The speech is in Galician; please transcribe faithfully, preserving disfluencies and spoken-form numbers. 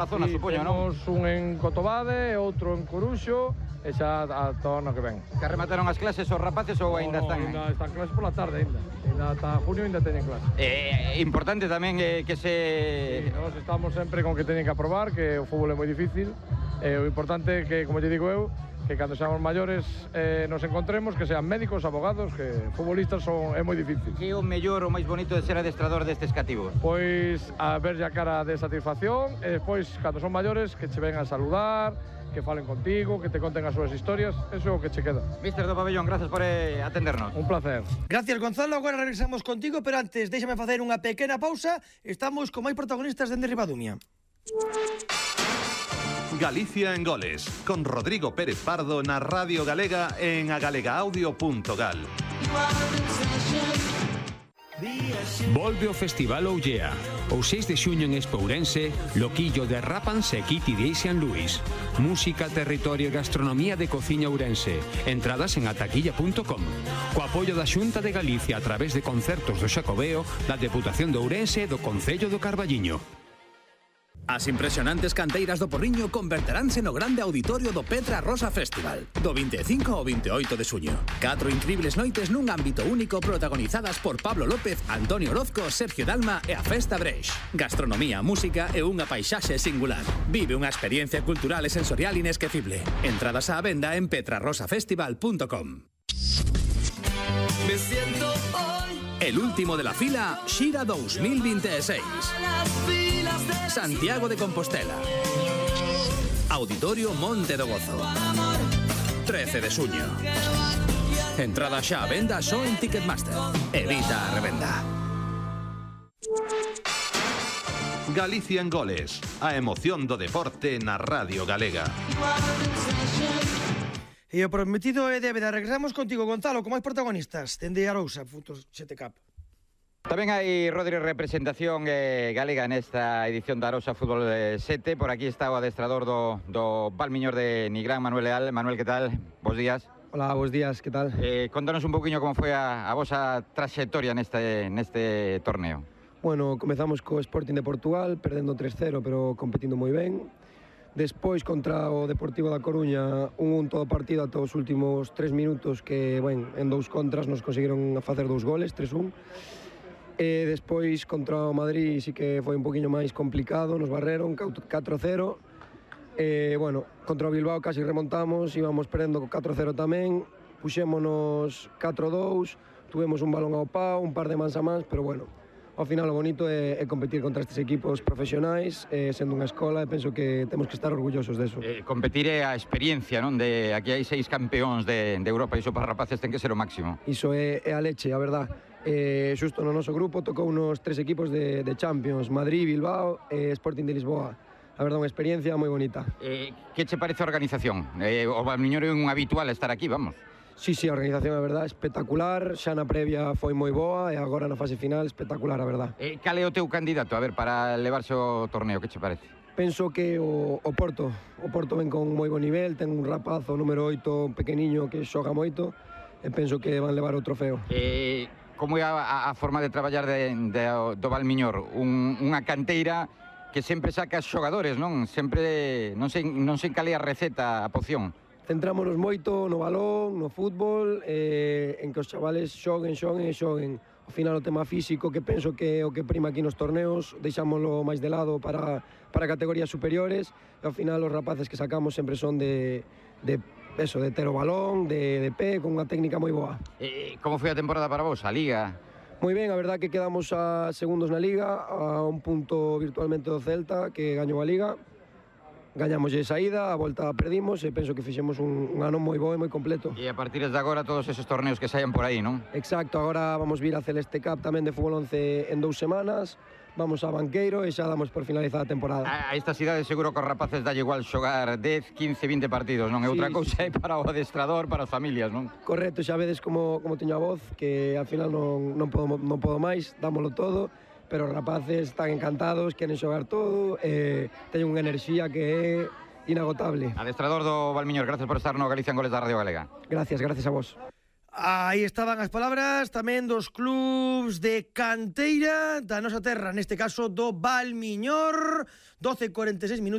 A zona, sí, supoño, non? Temos un en Cotobade, outro en Coruxo, e xa ata o ano que ven. Que remataron as clases os rapaces ou aínda no, están? No, ainda están clases pola tarde, ainda. Ainda ata junio ainda teñen clases. É eh, importante tamén eh, que se... Sí, nós estamos sempre con que teñen que aprobar, que o fútbol é moi difícil, e o importante é que, como te digo eu, que cando seamos maiores eh, nos encontremos, que sean médicos, abogados, que futbolistas son, é moi difícil. Que é o mellor, o máis bonito de ser adestrador destes cativos? Pois a ver a cara de satisfacción e despois, cando son maiores, que che ven a saludar, que falen contigo, que te conten as súas historias, eso é o que che queda. Míster do Pabellón, gracias por eh, atendernos. Un placer. Gracias, Gonzalo, agora regresamos contigo, pero antes déxame facer unha pequena pausa, estamos con máis protagonistas dende Ribadumia. Galicia en Goles, con Rodrigo Pérez Pardo na Radio Galega en agalegaaudio punto gal. Volve o Festival Ollea. O seis de xuño en Espourense, Loquillo de Rápanse e Kitty de San Luis. Música, territorio e gastronomía de cociña ourense. Entradas en ataquilla punto com. Co apoio da Xunta de Galicia a través de concertos do Xacobeo, da Deputación de Ourense e do Concello do Carballiño. As impresionantes canteiras do Porriño converteránse no grande auditorio do Petra Rosa Festival, do vinte e cinco ao vinte e oito de xuño. Catro incribles noites nun ámbito único protagonizadas por Pablo López, Antonio Orozco, Sergio Dalma e a Festa Breix. Gastronomía, música e unha paisaxe singular. Vive unha experiencia cultural e sensorial inesquecible. Entradas á venda en petra rosa festival punto com. Me siento hoy el último de la fila, Xira dos mil veintiséis. Santiago de Compostela. Auditorio Monte do Gozo. trece de xuño. Entrada xa a venda só en Ticketmaster. Evita a revenda. Galicia en Goles, a emoción do deporte na Radio Galega. E o prometido é débeda. Regresamos contigo, Gonzalo, con máis protagonistas dende Arousa, Futos sete Cup. Tamén hai, Rodri, representación eh, galega nesta edición da Arousa Fútbol sete. Por aquí está o adestrador do, do Valmiñor de Nigrán, Manuel Leal. Manuel, que tal? Bos días. Hola, bos días, que tal? Eh, contanos un poquinho como foi a, a vosa traxectoria neste, neste torneo. Bueno, comezamos co Sporting de Portugal, perdendo tres cero, pero competindo moi ben. Despois, contra o Deportivo da Coruña, un un todo partido ata os últimos tres minutos, que, ben, en dous contras nos conseguiron facer dous goles, tres un. E despois contra o Madrid sí que foi un poquinho máis complicado, nos barreron catro cero. E, bueno, contra o Bilbao casi remontamos, íbamos perdendo catro cero tamén, puxémonos catro dous, tuvemos un balón ao pau, un par de mans a mans, pero bueno, ao final o bonito é, é competir contra estes equipos profesionais, eh, sendo unha escola, e penso que temos que estar orgullosos deso. Eh, competir é a experiencia, non? De, aquí hai seis campeóns de, de Europa, e iso para rapaces ten que ser o máximo. Iso é, é a leche, a verdad. Eh, xusto no noso grupo tocou unos tres equipos de, de Champions, Madrid, Bilbao e Sporting de Lisboa. A verdad, unha experiencia moi bonita. Eh, que che parece a organización? Eh, o Valmiñor é un habitual estar aquí, vamos. Sí, sí, a organización, a verdad, espectacular. Xa na previa foi moi boa e agora na fase final espectacular, a verdad. Eh, cal é o teu candidato, a ver, para levarse o torneo? Que che parece? Penso que o, o Porto. O Porto ven con moi bo nivel, ten un rapazo número oito, pequeniño, que xoga moito, e penso que van levar o trofeo. Eh, como é a, a forma de traballar de, de, do Valmiñor? Un, unha canteira que sempre saca xogadores, non? Sempre, non sei, non sei cal é a receta, a poción. Centrámonos moito no balón, no fútbol, eh, en que os chavales xoguen, xoguen e xoguen. Ao final o tema físico, que penso que é o que prima aquí nos torneos, deixámoslo máis de lado para, para categorías superiores, e ao final os rapaces que sacamos sempre son de, de eso, de ter o balón, de, de pé, con unha técnica moi boa. Eh, como foi a temporada para vos, a Liga? Moi ben, a verdad que quedamos a segundos na Liga, a un punto virtualmente do Celta, que gañou a Liga. Gañamos de saída, a volta perdimos e penso que fixemos un, un ano moi bo e moi completo. E a partir de agora todos esos torneos que saian por aí, non? Exacto, agora vamos vir a Celeste Cup tamén de fútbol once en dous semanas, vamos a Banqueiro e xa damos por finalizada a temporada. A, a esta cidade seguro que os rapaces dalle igual xogar dez, quince, vinte partidos, non? É outra sí, cousa sí. é para o adestrador, para as familias, non? Correcto, xa vedes como, como teño a voz, que al final non, non, podo, non podo máis, dámolo todo, pero os rapaces están encantados, queren xogar todo, e teñen unha enerxía que é inagotable. Adestrador do Valmiñor, gracias por estar no Galicia en Goles da Radio Galega. Gracias, gracias a vos. Aí estaban as palabras tamén dos clubs de canteira da nosa terra, neste caso do Valmiñor. doce e cuarenta e seis minutos.